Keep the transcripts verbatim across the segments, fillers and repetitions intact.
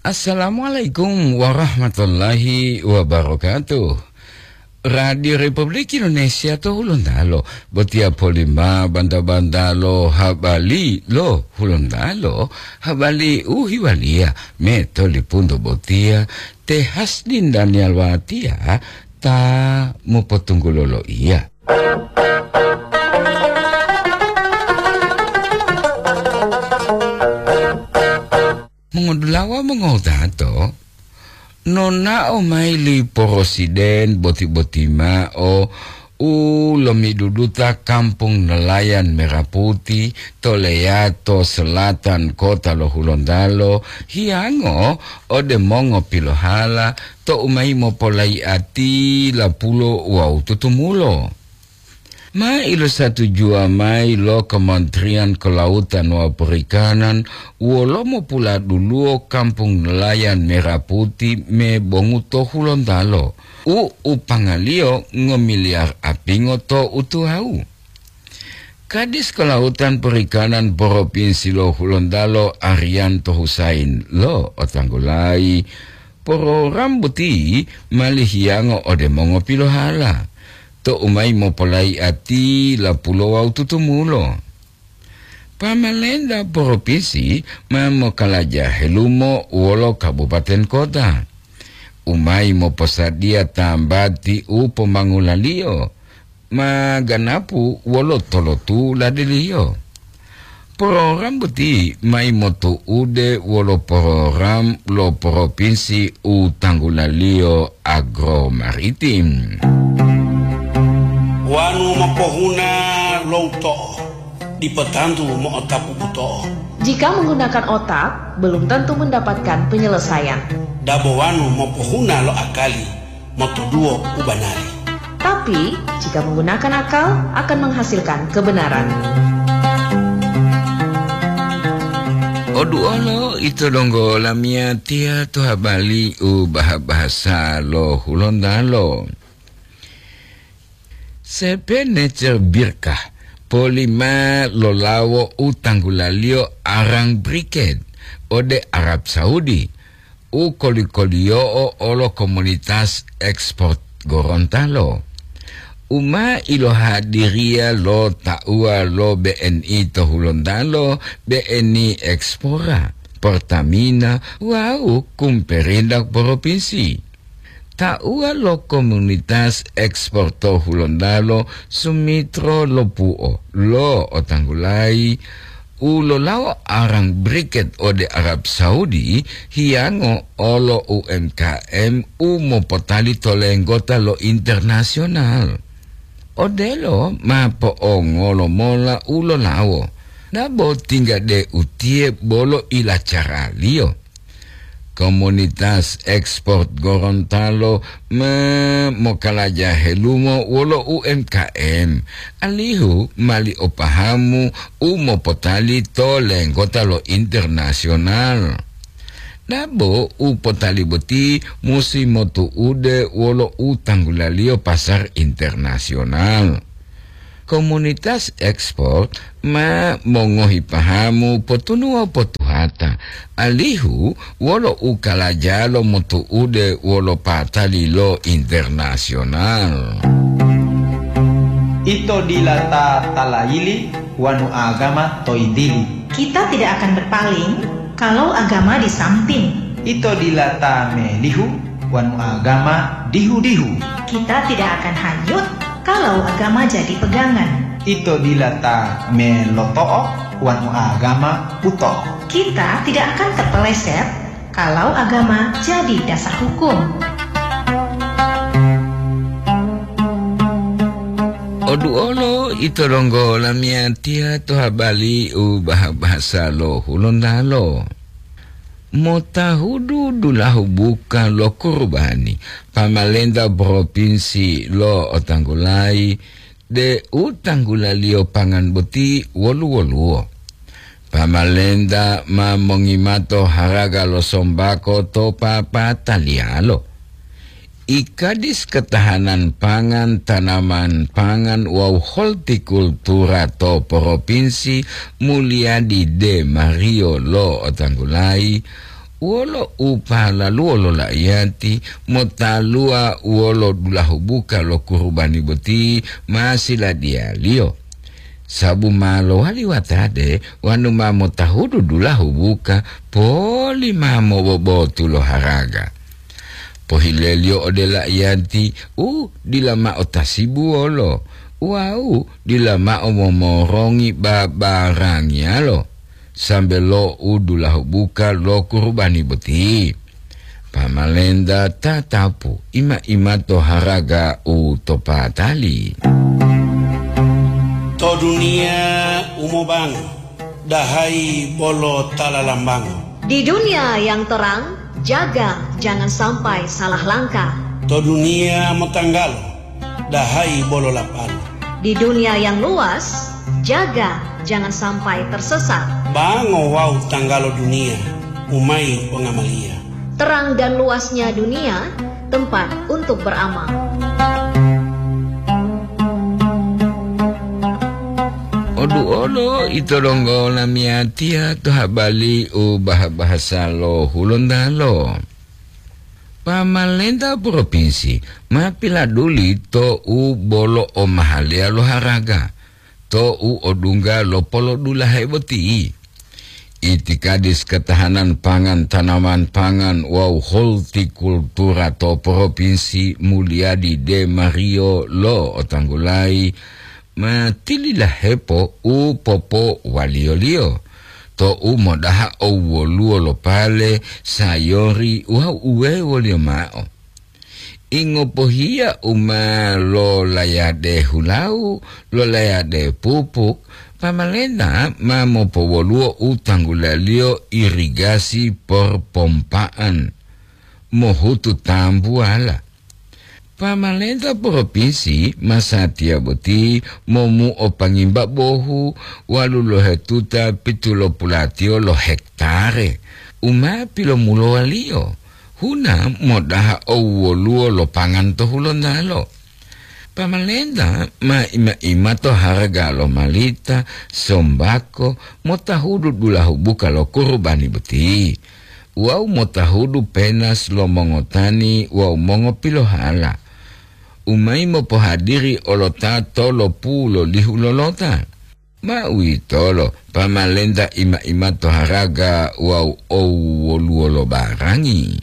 Assalamualaikum warahmatullahi wabarakatuh. Radio Republik Indonesia to Hulontalo, botiya polima banta-banta lo habali lo Hulontalo, habali u hiwaliya me to lipunto botiya, te Hasdin Daniel Watia ta mopotunggulo loiya. Mongodulawa mongowutato, nonao mayi li Porosiden boti-boti mao u lomiduduta Kampung Nelayan Merah Putih to leyato selatan kota lo Hulontalo, hiyango ode mongopilohala tou mayi mopolaiati lapulo wawu tutumulo. Ma ilosatujuwa mayi lo Kementerian Kelautan wawu Perikanan wolo mopuladuluwo Kampung Nelayan Merah Putih me bongu to Hulontalo, u upangaliyo ngomiliyar apingo to utuwawu. Kadis Kelautan Perikanan Propinsi lo Hulontalo, Arianto Husain, lo'otanggulayi, porogram boti mali hiyango ode mongopilohala, tou mayi mopolaiati lapulo wawu tutumulo. Pamalenta propinsi ma mokalaja helumo wolo kabupaten kota, u mayi moposadiya tambati u pomangulaliyo, ma ganapu wolo tolotuladiliyo. Program boti mayi motu'ude wolo program lo propinsi u tanggulaliyo agromaritim. Wanu mopohuna lo uto'o, dipo tantu mo'otapu buto'o. Jika menggunakan otak, belum tentu mendapatkan penyelesaian. Dabo wanu mopohuna lo akali, motoduwo u banari. Tapi, jika menggunakan akal, akan menghasilkan kebenaran. Oduolo ito donggo lamiyatiya to habari u baha-bahasa lo Hulontalo. Sepenecer Birkah polima lolawo u tanggulaliyo arang briket ode Arab Saudi, u koli-koliyo'o olo komunitas ekspor Gorontalo, u ma ilohadiriya lo tauwa lo B N I to Hulontalo, B N I Ekspora, Pertamina, wawu Kumperindak Propinsi. Tauwa lo komunitas ekspor to Hulontalo, Sumitro Lopuo, lo'otanggulayi u lolawo arang briket ode Arab Saudi, hiyango olo U M K M u mopotali to lenggota lo internasional. Odelo ma po'ongolo mola u lolawo, dabo tingga de utiye bolo ilacaraliyo. Komunitas ekspor Gorontalo ma mokalaja helumo wolo U M K M, alihu mali o pahamu u mopotali to lenggota lo internasional. Dabo u potali boti musi motu'ude wolo u tanggulaliyo pasar internasional. Komunitas ekspor ma mongohi pahamu potunuwa potuhata, alihu wolo u kalajalo motu'ude wolo patali lo internasional. Ito dila ta talayili wanu agama to yintili. Kita tidak akan berpaling kalau agama di samping. Ito dila ta melihu wanu agama dihu-dihu. Kita tidak akan hanyut kalau agama jadi pegangan. Ito dila ta meloto'o wanu agama buto'o. Kita tidak akan terpeleset kalau agama jadi dasar hukum. Oduolo ito donggo lamiyatiya to habari u baha-bahasa lo Hulontalo. Motahudu dulahu buka lo kurubani, pamalenta propinsi lo'otanggulayi de u tanggulaliyo pangan boti wolu-woluwo. Pamalenta ma mongimato haraga lo sombako to papataliyalo. Ikadis Ketahanan Pangan, Tanaman Pangan wawu Holtikultura to Propinsi Mulyadi De Mario lo'otanggulayi, Wolo u pahalaluwo lo laiyati motaluwa wolo dulahu buka lo kurubani boti ma siladiyaliyo, sabu ma lowali watade wonu ma motahudu dulahu buka poli ma mobobotu lo haraga. Pohileliyo ode laiyati u dila mao tasibuwolo wawu dila mao momorongi babarangiyalo, sambe lo u dulahu buka lo kurubani boti. Pamalenta tatapu ima-imato haraga u to patali. To duniya u mobango, dahayi bolo ta lalambango. Di dunia yang terang, jaga jangan sampai salah langkah. To duniya motanggalo, dahayi bolo lapalo. Di dunia yang luas, jaga jangan sampai tersesat. Bango wawu tanggalo duniya, umai pongamaliya. Terang dan luasnya dunia, tempat untuk beramal. Odu olo ito donggo lamiyatiya to habali u baha-bahasa lo Hulontalo. Pamalenta propinsi ma piladuli to u bolo omahaleya lo haraga, to u odungga lo polodulahe boti. Itikadis ketahanan pangan, tanaman pangan wawu holtikultura to propinsi Mulyadi De Mario lo otanggulayi ma tililahepo u popowaliyoliyo, to u modaha owoluwo lo pale, sayori wawu uwewoliyo mao. Ingopohiya u ma lolayade hulawu, lolayade pupuk, pamalenta ma mopowoluwo u tanggulaliyo irigasi porpompa'an mohutu tambuwala. Pamalenta propinsi masatiya boti momuo pangimba bohu walu lohetuta pitulopulatiyo lo hektare u ma pilomulowaliyo huna modaha owoluwo lo pangan to Hulontalo. Pamalenta ma ima-ima to haraga lo malita, sombako, motahudu dulahu buka lo kurubani boti, wawu motahudu penas lo mongotani wawu mongopilohala, u mayi mopohadiri olota tolopu lolihu lolota. Ma uwitolo, pamalenta ima-ima to haraga wawu owoluwo lo barangi.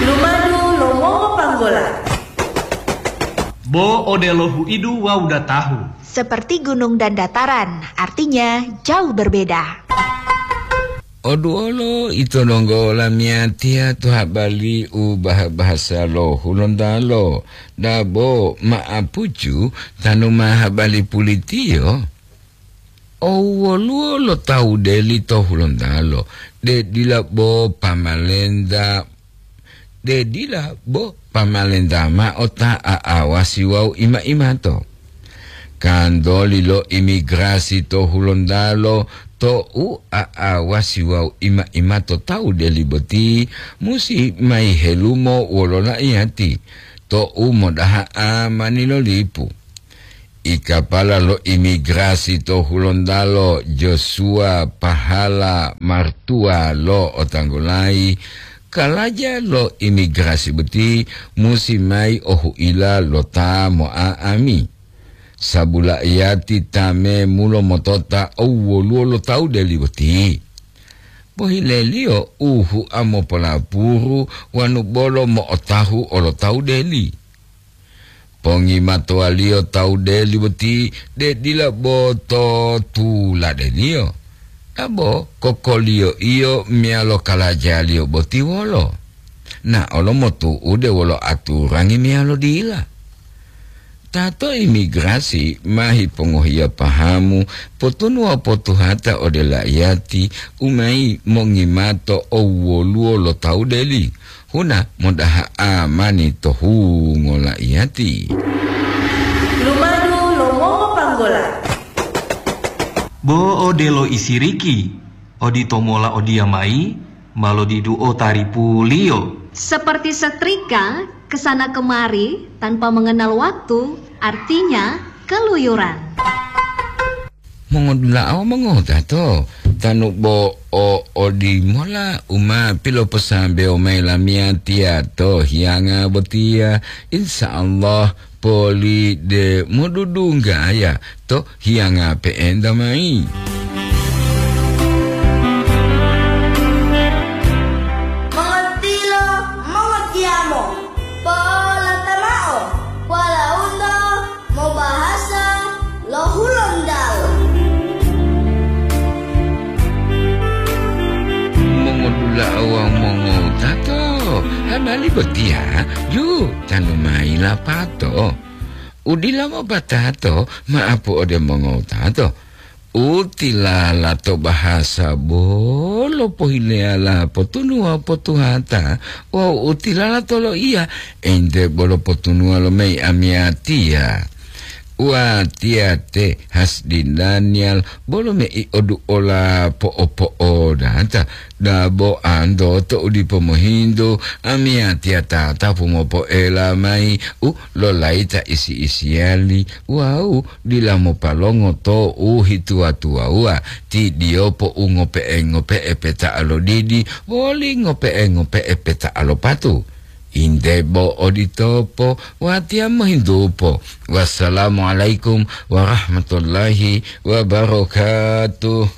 Lumadu lo mongopanggola. Bo odelo huidu wawu datahu. Seperti gunung dan dataran, artinya jauh berbeda. Oduwolo ito donggo lamiyatiya to habali u baha-bahasa lo Hulontalo, dabo ma'apucu tanu ma habali pulitiyo. Owoluwo lo tawu deli to Hulontalo, de dila bo pamalenta, de dila bo pamalenta mao ta a'awasi wawu ima-imato. Kantoli lo imigrasi to Hulontalo to u a'awasi wawu ima-imato tawu deli boti musi mayi helumo wolo laiyati to u modaha amani lo lipu. Ikapala lo imigrasi to Hulontalo Joshua Pahala Martua lo otanggulayi, kalaja lo imigrasi boti musi mayi ohuila lo ta mo'a'ami. Sabula iyati ta memulo motota owwoluwo lo tawu deli boti. Pohileliyo u hua mopolapuru wanu bolo mo'otahu olo tawu deli. Pongimatowaliyo tawu deli boti de dila bo to tuladeliyo, dabo kokoliyo-iyo meyalo kalajaliyo boti wolo, na olo motu'ude wolo aturangi meyalo dila. Ta to imigrasi ma hipongohiya pahamu potunu wawu potuhata ode laiyati u mayi mongimato owwoluwo lo tawu deli, huna modaha amani to hungo laiyati. Lumadu lo mongopanggola. Bo odelo isiriki, oditomola odiyamayi ma lodiduo taripuliyo. Seperti setrika kesana kemari tanpa mengenal waktu, artinya keluyuran. Mongodula'a wawu mongotato, tanu bo o odimola u ma piloposambewo mayi lamiyatiya to hiyanga botiya, insya Allah poli de modudunggaya to hiyanga pe'enta mayi. Mongotilo, mongotiyamo, po'olata mao, walauto mobahasa lo Hulontalo. Mongodula'a wawu mongotato, habari botiya ju tanu mayi lapato. U dila mopatato, ma'apu ode mongotato. U tilala to bahasa bolo pohileyala potunuwa potuhata, wawu u tilala to loiya ente bolo potunuwa lo mayi amiyatiya. Watiya te Hasdi Daniel bolo mei oduola po'opo'odata, dabo anto to u dipo mohintu, amiyatiya tatapu mopoela mayi u lolayita isi-isiyali wawu dila mopalongo to u hituwa-tuwawuwa, ti diyopo u ngope'e-ngope'e peta'a lo didi woli ngope'e-ngope'e peta'a lo patu. Inde bo oditopo, watiya mohintupo. Wassalamualaikum warahmatullahi wabarakatuh.